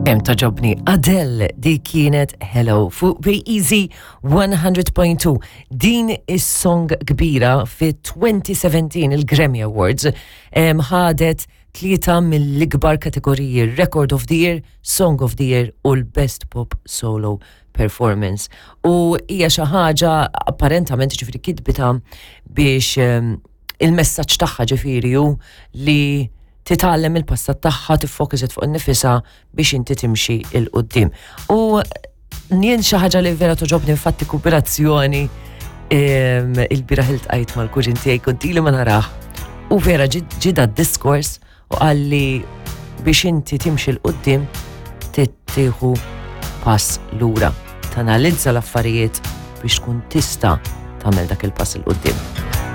Kemm toġobni Adele di kienet Hello fuq Be Easy 100.2. Din is-song kbira fi 2017 il-Grammy Awards ħadet tlieta mill-ikbar kategoriji Record of the Year, Song of the Year u l-Best Pop Solo Performance. U hija xi ħaġa apparentament ġifieri kitbita biex il-messaġġ tagħha ġifieri hu li titgħallem il-passat tagħha tiffokuset fuq nifisha biex inti timxi il qudiem U jien xi ħaġa li vera toġobni infatti kooperazzjoni il-biraħ iltqajt mal-kuġin tiegħi kont ili ma narah. U vera ġida d-diskors u qalli biex inti timxi 'l quddiem tieħu pass lura. Tanalizza l-affarijiet biex tkun tista' tagħmel dak il-pass 'il quddiem.